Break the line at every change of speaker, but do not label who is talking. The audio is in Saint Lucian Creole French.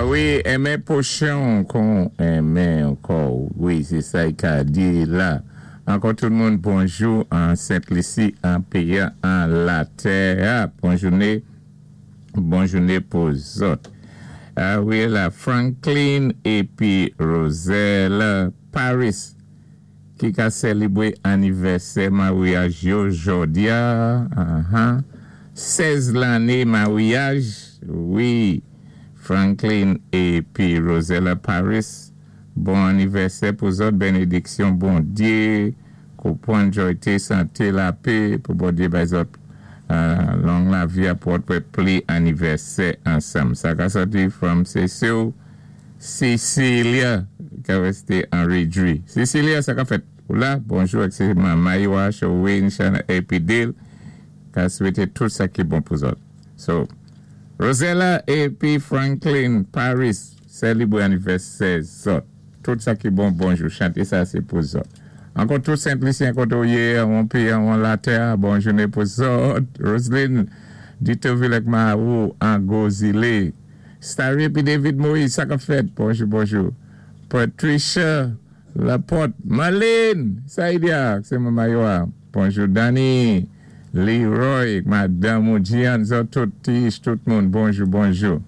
Wi, enmen pwochen'w kon enmen kò'w. Wi, sé sa i ka di la. Ankò tout moun bonjou an Sent Lisi, an péyi an, an latè a. Bon jouné, bon jouné pou zòt. A wi la Franklin épi Roselle Paris ki ka sèlibwé anivèsè maryaj yo jòdi-a, ahan, 16 lanné maryaj, wi, Franklin épi Rosella Paris, bon anivèsè pou zòt, benediksyon Bondyé, konpwann, jòyté, santé, lapé, pou Bondyé bay zòt long lavi a pou òt wè pli anivèsè ansanm. Sa ka sòti from sé sé'w Cecilia ka reste an rejwi. Cecilia sa kap fèt ou la bonjou ak se manman yo a Showin Shana epi Dil ka swete tout sa ki bon pou zòt so Rosella epi Franklin Paris selibre anivèsè zòt tout sa ki bon bonjou chante sa se pou zòt ankò tout Sent Lisyen kote ou ye anwon peyi anwon latè a bon joune pou zòt Roseline Dutovil ak Marou an gwo zile. Starry epi David Moïse sa kap fèt bonjou bonjou Patricia Laporte Marlene Saidia se manman yo a bonjou Danny Leroy madanm ou Gian zòt tout Tiish tout moun bonjou bonjou.